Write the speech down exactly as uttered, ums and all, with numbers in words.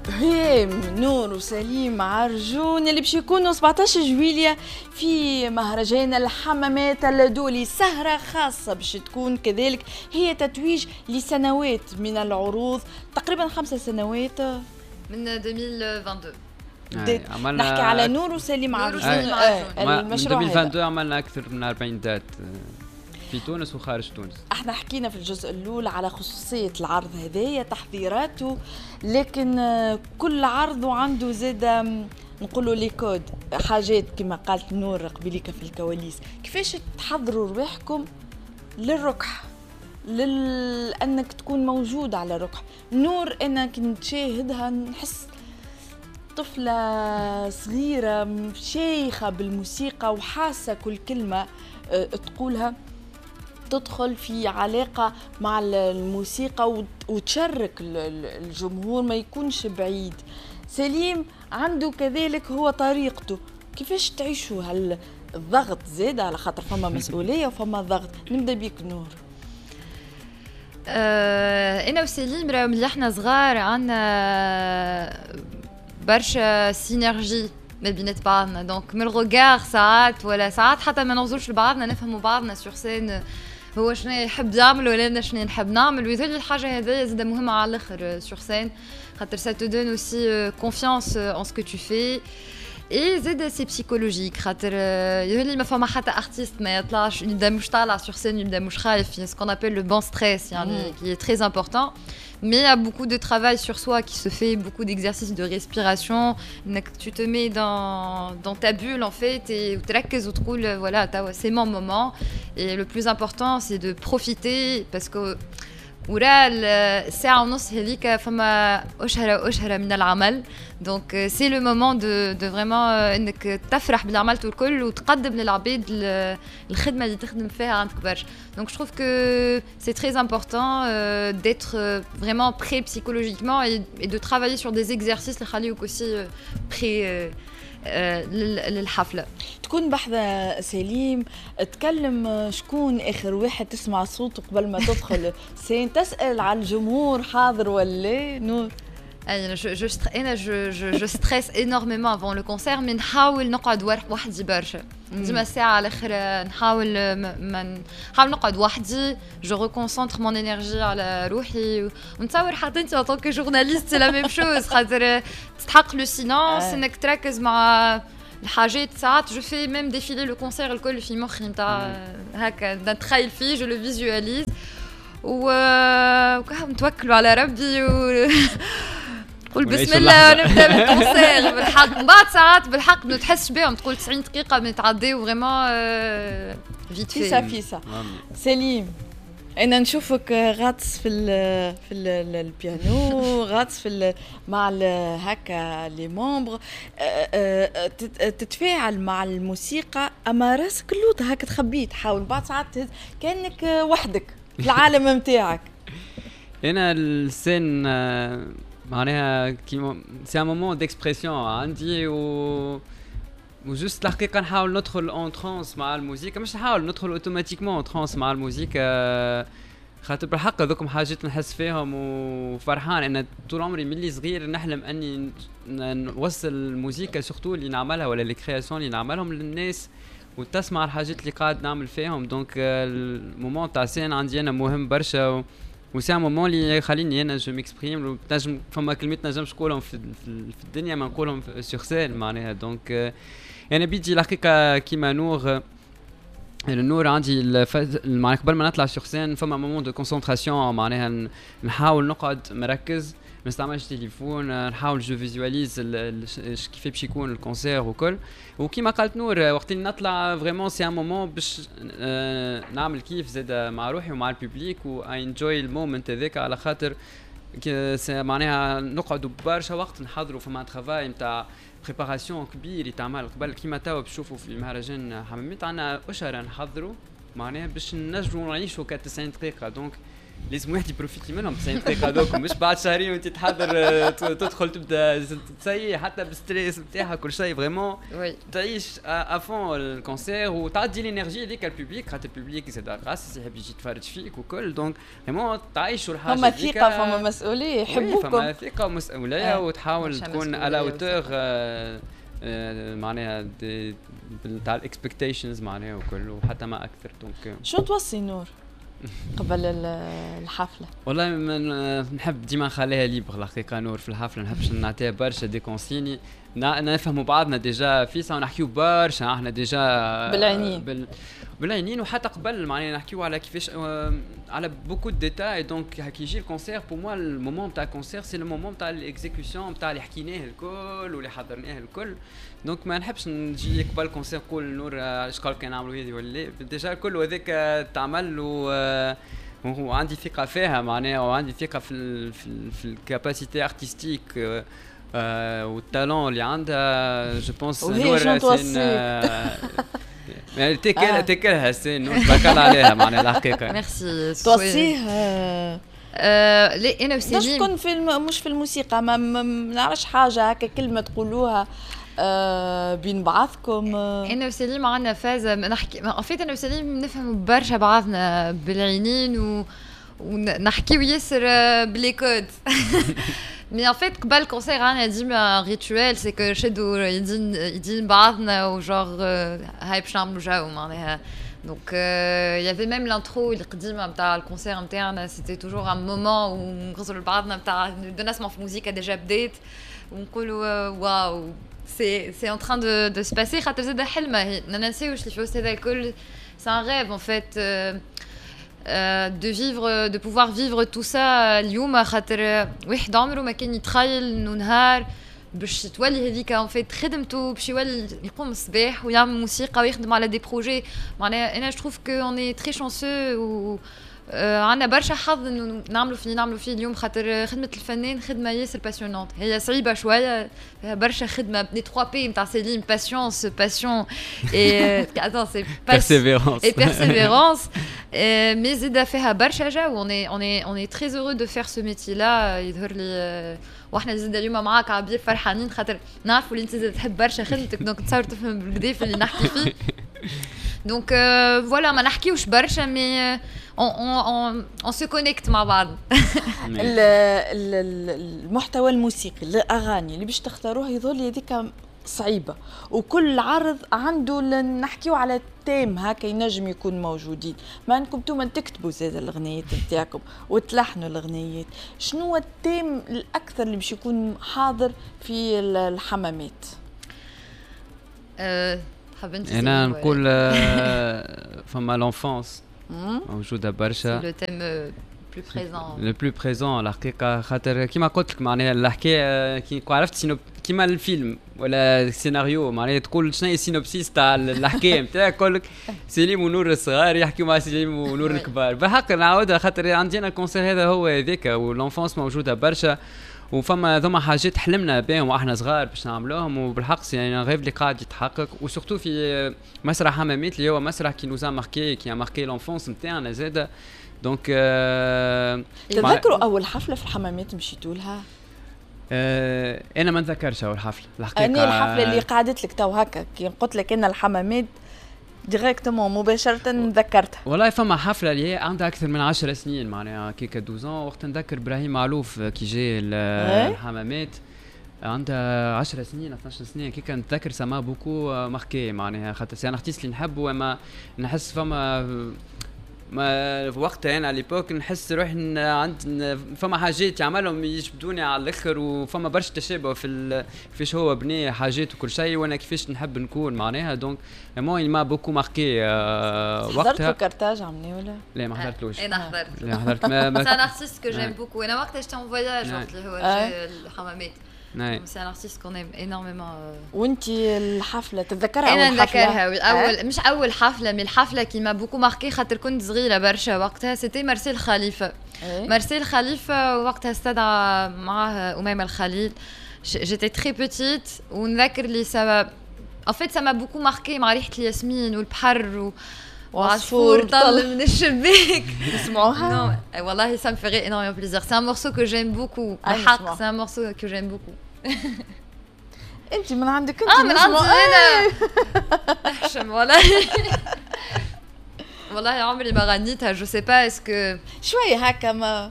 هيم نور وسليم عرجون اللي باش يكونوا سبعطاش جويلية في مهرجان الحمامات الدولي، سهرة خاصة باش تكون كذلك هي تتويج لسنوات من العروض، تقريبا خمسة سنوات من ألفين واثنين وعشرين. عملنا، نحكي على نور وسليم عرجون. آه المشروع من ألفين واثنين وعشرين عملنا اكثر من أربعين dates في تونس وخارج تونس. احنا حكينا في الجزء الاول على خصوصية العرض هذايا، تحضيراته، لكن كل عرض وعنده زاد نقولوا les codes، حاجات كما قالت نور قبليك في الكواليس. كيفاش تحضروا رواحكم للركح، لل... انك تكون موجود على الركح؟ نور انا كنت نشاهدها نحس طفلة صغيرة شيخة بالموسيقى وحاسة كل كلمة آه، تقولها، تدخل في علاقة مع الموسيقى وتشارك الجمهور، ما يكونش بعيد. سليم عنده كذلك هو طريقته. كيفاش تعيشوا هالضغط زاد، على خاطر فما مسؤولية وفما ضغط؟ نبدا بيك نور. آه انا وسليم راهو ملي احنا صغار عندنا برشا synergie ما بينات بعضنا، donc من ال regard ساعات ولا ساعات حتى ما نغزرش لبعضنا نفهموا بعضنا sur scène، هو شنو يحب يعمل ولا انا شنو نحب نعمل. ويظل الحاجة هذه زاده مهمة على الاخر sur scène، خاطر ça te donne aussi confiance en ce que tu fais et زاد c'est psychologique، خاطر يظل ما فما حتى artiste ما يطلعش يبدا مش طالع sur scène يبدا مش خايف، ce qu'on appelle le bon stress يعني qui est très important. Mais il y a beaucoup de travail sur soi qui se fait, beaucoup d'exercices de respiration. Tu te mets dans, dans ta bulle en fait et وتركز وتقول voilà, c'est mon moment. Et le plus important, c'est de profiter parce que ورا الساعة ونص هذيك فما أشهر أشهر من العمل، donc c'est le moment de de vraiment انك تفرح باللي عملته الكل وتقدم للعباد الخدمة اللي تخدم فيها عندك برشا. donc je trouve que c'est très important d'être vraiment prêt psychologiquement et, et de travailler sur des exercices اللي يخليوك aussi prêt للحفله. تكون بحذا سليم، تكلم شكون اخر واحد تسمع صوته قبل ما تدخل scène، تسال على الجمهور حاضر ولا نور؟ انا je je انا je je je stresse énormément avant le concert، mais نحاول نقعد وحدي برشا ديما. الساعة على الاخر نحاول ما نحاول نقعد وحدي، je reconcentre mon énergie على روحي. ونتصور حتى انت en tant que journaliste c'est la même chose، خاطر تستحق le silence، انك تركز مع الحاجات. ساعات je fais même défiler le concert الكل في مخي نتاع هكا، نتخيل فيه، je le visualise و نتوكلوا على ربي و قول بسم الله ونبدا بال concert. بالحق من بعد ساعات بالحق ما تحسش بهم، تقول تسعين دقيقة ما تعديو vraiment vite. فيسا فيسا. سليم، انا نشوفك غاطس في ال في ال البيانو، غاطس في ال مع ال هكا les membres، تتفاعل مع الموسيقى، اما راسك اللوطه هكا تخبيه، تحاول بعد ساعات كانك وحدك في العالم نتاعك. انا ال scène معناها كيما c'est un moment d'expression عندي و و juste الحقيقة نحاول ندخل en transe مع الموسيقى، مش نحاول، ندخل automatiquement en transe مع الموسيقى، خاطر بالحق هذوكم حاجات نحس فيهم وفرحان. انا طول عمري ملي صغير نحلم اني نوصل الموسيقى surtout اللي نعملها ولا les créations اللي نعملهم للناس وتسمع الحاجات اللي قاعد نعمل فيهم. donc ال moment تاع scène عندي انا مهم برشا و c'est un moment اللي يخليني انا je m'exprime. تنجم فما كلمات نجمش نقولهم في, في الدنيا ما نقولهم sur scène معناها. donc انا بيدي الحقيقة كيما نور النور عندي معناها قبل ما نطلع sur scène فما moment de concentration، معناها نحاول نقعد مركز، ما نستعملش تليفون، نحاول je visualise كيف باش يكون ال concert وكل. وكيما قالت نور، وقت اللي نطلع vraiment c'est un moment باش نعمل كيف زاد مع روحي ومع ال public و enjoy ال moment هذاك، على خاطر معناها نقعدوا برشا وقت نحضروا، فما travail نتاع préparation كبير يتعمل قبل. كيما توا بتشوفوا في مهرجان حمامات عندنا اشهر نحضروا معناها باش نجموا نعيشوا تسعين دقيقه، donc لازم واحد ي profiter منهم تسعين دقيقة هذوك، مش بعد شهرين وانت تحضر تدخل تبدا تسيي حتى بال stress نتاعها كل شيء. vraiment تعيش à fond ال concert وتعدي l'énergie هذيك ال public، خاطر ال public زاد قاصص يحب يجي يتفرج فيك وكل، donc vraiment تعيشوا الحاجة. فما ثقة، فما مسؤوليه، يحبوكم. فما ثقة ومسؤوليه، وتحاول تكون à la hauteur معناها تاع ال expectations معناها وكل، وحتى ما اكثر. donc شو توصي نور قبل الحفلة؟ والله من نحب ديما نخليها libre الحقيقة نور في الحفلة، نحبش نعطيها برشا des consignes. نفهموا بعضنا déjà فيسا ونحكيو برشا احنا déjà بالعينين بال... بالعينين، وحتى قبل معناها نحكيو على كيفاش على beaucoup de détails. donc كي يجي ال concert، pour moi ال moment تاع ال concert c'est le moment تاع l'exécution تاع اللي حكيناه الكل واللي حضرناه الكل. donc ما نحبش نجي قبل ال concert نقول نور اش قال كان نعملوا هذه ولا déjà الكل، وهذاك تعمل و وعندي ثقة فيها معناها، وعندي ثقة في ال في, ال في ال capacité artistique وال talent اللي عندها. je pense نور يعني تاكل تاكلها c'est نور، تبارك الله عليها معناها الحقيقه. ميرسي. توصية لا انا وسليم تكون في الم... مش في الموسيقى، ما, ما نعرفش حاجة هكا كلمة تقولوها آه بين بعضكم. انا وسليم عندنا فازة نحكي en fait، انا وسليم نفهموا برشا بعضنا بالعينين و ونحكيو ياسر ب les codes. mais en fait قبل ال concert عندنا ديما rituel، c'est que نشدو يدين يدين بعضنا و genre هاي باش نعملو جو معناها. donc il y avait même l'intro القديمة نتاع ال concert نتاعنا، c'était toujours un moment où نغزروا لبعضنا نتاع نسمعوا في موزيكا déjà بدات ونقولوا واو c'est c'est en train de de se passer. خاطر زاد حلمه هي، ما ننساوش اللي في وسط هذا الكل c'est un rêve en fait de vivre، de pouvoir vivre tout ça اليوم، خاطر واحد عمره ما كان يتخيل انه نهار باش تولي هذيك en fait خدمته، باش يولي يقوم الصباح ويعمل موسيقى ويخدم على des projets. معناها انا je trouve que on est très chanceux و عندنا برشا حظ انه نعملوا في نعملوا فيه اليوم، خاطر خدمة الفنان خدمة ياسر passionnante، هي صعيبة شويه، فيها برشا خدمه. les trois P نتاع سليم: patience، passion et attends c'est persévérance. et persévérance. mais زيدا فيها برشا جو. on est on est on est très heureux de faire ce métier-là. يظهر لي واحنا زيد اليوم معاك عبير فرحانين، خاطر نعرفوا اللي انت زاد تحب برشا خدمتك، donc تصور تفهم بالكدا في اللي نحكي فيه. donc voilà، ما نحكيوش برشا mais on on on se connecte مع بعض. المحتوى الموسيقي، الاغاني اللي باش تختاروها يظل هذيك صعيبه، وكل عرض عنده نحكيو على thème هكا ينجم يكون موجودين. ما انكم انتم تكتبوا زاد الاغنيات نتاعكم وتلحنوا الاغنيات، شنو هو ال thème الاكثر اللي باش يكون حاضر في الحمامات؟ أه حاب انت؟ انا نقول فما l'enfance موجودة برشا. le thème plus présent. le plus présent الحقيقه، خاطر كيما قلت لك معناها الحكاية كي عرفت synop كيما الفيلم ولا السيناريو، معناها تقول شنو هي ال synopsis تاع الحكاية نتاعك، يقول لك سليم ونور الصغار يحكيوا مع سليم ونور الكبار. بالحق نعاودها خاطر عندنا ال concert هذا هو هذاك، و l'enfance موجودة برشا، وفما ذوما حاجات حلمنا بهم واحنا صغار باش نعملوهم، وبالحق c'est un rêve اللي قاعد يتحقق، و surtout في مسرح حمامات اللي هو مسرح qui nous a marqué، qui a marqué l'enfance نتاعنا زاده. donc تذكروا اول حفلة في الحمامات مشيتوا لها؟ آه انا ما نتذكرش اول حفلة الحقيقه. انا الحفلة اللي قعدت لك تو هكا كي قلت لك ان الحمامات directement مباشرة ذكرتها. والله فما حفلة اللي هي عندها اكثر من عشر سنين، معناها كيكا اثنا عشر، وقت نذكر ابراهيم معلوف كي جاي الحمامات عندها عشر سنين اثنا عشر سنة كيكا، نتذكر ça m'a beaucoup marqué معناها خاطر c'est un artiste اللي نحبه، اما نحس فما ما وقتها انا à l'époque نحس روحي عند فما حاجات يعملهم يجبدوني على الاخر، وفما برشا تشابه في كيفاش هو بني حاجات وكل شيء، وانا كيفاش نحب نكون معناها. donc moi il m'a beaucoup marqué وقتها. حضرت في كارتاج عمني ولا؟ لا ما حضرتلوش. انا حضرت. لا حضرت ما c'est un artiste que j'aime beaucoup. انا وقتها j'étais en voyage وقت اللي هو الحمامات. c'est un artiste qu'on aime énormément. وانت الحفلة تتذكرها؟ انا اول حفلة نذكرها اول مش اول حفله، mais الحفلة qui m'a beaucoup marquée خاطر كنت صغيرة برشا وقتها، c'était مارسيل خليفه. مارسيل خليفة وقتها استدعى معاه اميمة الخليل، j'étais très petite ونذكر لي ça en fait ça m'a beaucoup marquée مع ريحه الياسمين والبحر و وعصفور طل من الشباك. نسمعوها؟ Non, والله ça me ferait énormément plaisir. C'est un morceau que j'aime beaucoup. الحق c'est un morceau que j'aime beaucoup. انت من عندك انت. اه، من عندي انا، احشم والله، والله عمري ما غنيتها، je sais pas est-ce que شوية هكا ما